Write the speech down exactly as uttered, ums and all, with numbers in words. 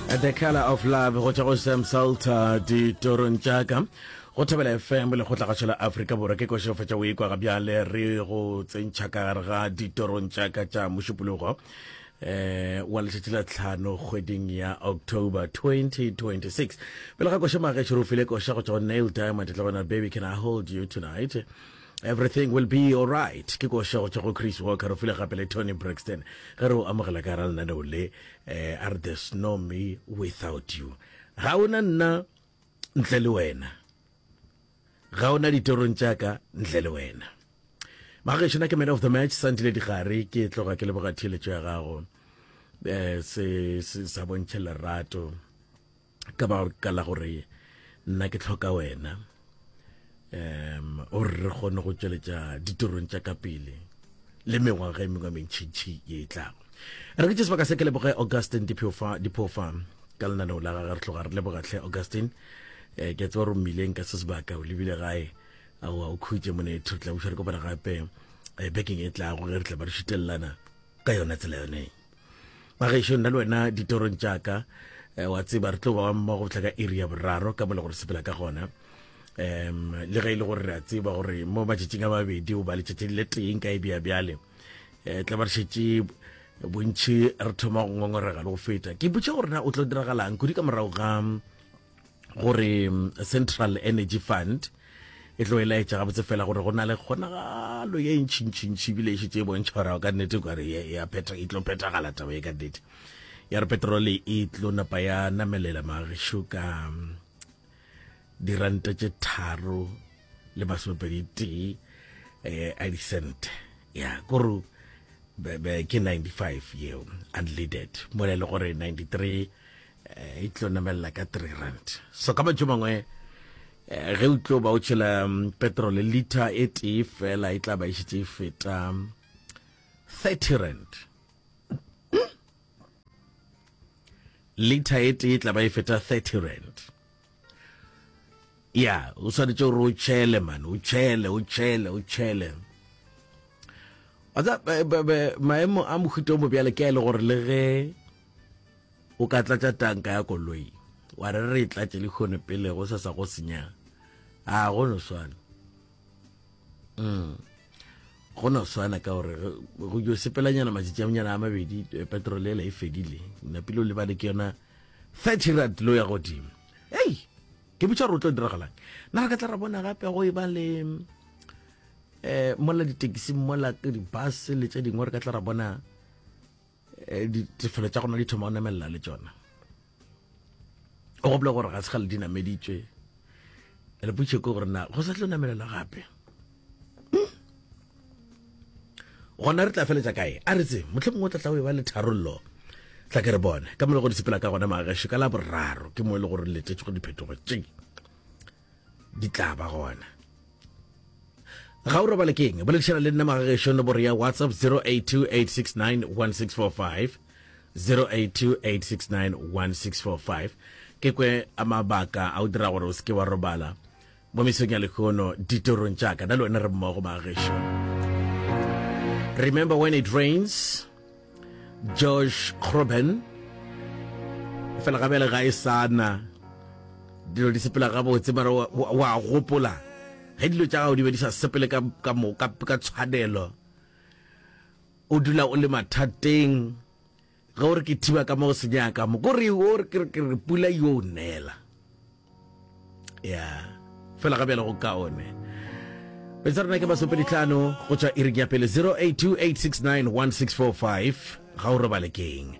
The Color of Love go tšwa go Sam Salter ditorong tša ka go Thobela F M lekgotlagašo la Afrika Borwa. Ke košo fetša o ikwa ga bjale re go tsentšha ka gare ga ditorong tša ka tša mošupologo eh wa letšatši la tlhano kgweding ya October twenty twenty-six. Pele ga koša magešo re o file koša go tšwa go Nail Diamond tla bona "Baby, Can I Hold You Tonight". "Everything Will Be Alright" ke koša go tšwa go Chris Walker. Re file gape le Toni Braxton ge re o amogela ka gara lenaneo le eh a re "There's no me without you", ga ona nna ntle le wena, ga ona ditorong tša ka ntle le wena. Magešo, na ke man of the match Santile Digare. Ke tloga ke leboga theeletšo ya gago um se se sa bontšhe lerato ka baka la gore nna ke tlhoka wena um gore re kgone go tšweletša ditorong tša ka pele le mengwaga e mengwe mentšhintšhi ye e tlago. Re ke tše sebaka se ke leboge Augustin Diphofa Diphofa ka lenaneo la gage. Re tloga re leboga tlhe Augustin um ke a tseba gore mmileng ka se sebaka o lebile gae. Aowa, o khutše monetho. Re tla buša re kopana gape um bekeng e tlago ge re tla ba re šutelelana ka yona tsela yone. Magešo, nna le wena ditorong tša ka eh, wa tseba re tlo ba mmogo go tla ka iri ya boraro ka mo le gore sepela ka gona um le ge e le gore re a tseba gore mo matšatšing a mabedi o ba letšatši le teng ka e bea bjale um tla ba re šetše bontšhi re thoma go ngongorega le go feta. Ke botša gore na o tlo diragalang kudu ka morago ga gore mm, Central Energy Fund e tlo e laetša gabotse fela gore go na le kgonagalo ye ntšhintšhintšhi ebile e šetše e bontšha gore ka nnete kare ya phetha e tlo phethagala taba e ka nnete ya re petrole e tlo napa ya namelela magešo ka mm, diranta tše tharo le masomepedi tee eh, a dicent ya kore be- be- ke ninety-five yeo unleaded mola e le gore ninety-three eh, e tlo namelela ka three rand. So ka mantšu mangwe eh, ge o tlo ba o tšhela mm, petrol liter e tee fela e tla ba e šetše e feta mm, thirty rand. Liter e tee e tla ba e feta thirty rand. Ya o swanetše gore o tšhele man, o tšhele, o tšhele, o tšhele. Wa tseba, be- be- be- maemo a mohuta o mobjale ke a e le gore le ge o ka tlatša tanka ya koloi wa re re e tlatše le kgone pele go sa sa go senya a go no swana mm go no swana ka gore ge- go yo sepelanyana matšatši a manyana a mabedi eh, petrol ela e fedile napile o lebale ke yona thirty rand lo ya godimo. Ei, ke botša gore o tlo diragalang. Na re ka tla ra bona gape go e ba le eh mola ditekisi mola ke di-bus le tše dingwe re ka tla ra bona eh, ditefelo tša gona di thoma go namelela le tšona? O gopola gore ga se gale di nameditšwe le potše ke gore na go sa tlo namelela gape gona re tla feletša kae? A re tse motlho mongwe o tla tla o e ba le tharollo. Tla ke re bone ka mo le go di sepela ka gona magešo. Ka la boraro ke mo e le gore letetše go diphetogo tše di tla ba gona. Ga o robale keng? Boledišana le nna magagešo nomoro ya WhatsApp zero eight two eight six nine one six four five, zero eight two eight six nine one six four five. Ke kwe a mabaka a o dira gore o se ke wa robala mo mesong ya lehono ditorong tša ka. Na le wena re mmogo magagešo. "Remember When It Rains", Josh Groban. Fela gabele ga e sana dilo di sepela gabotse mara wa, wa, wa gopola ge dilo tša gago di be di sa sepele ka, ka, mo, ka, ka tshwanelo, o dula o le mathateng ge o re ke thiba ka mo go senyaka mo kore o re ke re ke re pula yo neela ya fela ga bjale go kaone. Betsa rena ke masomepeditlhano go tšwa iring ya pele. zero eight two eight six nine one six four five. Ga o robale keng?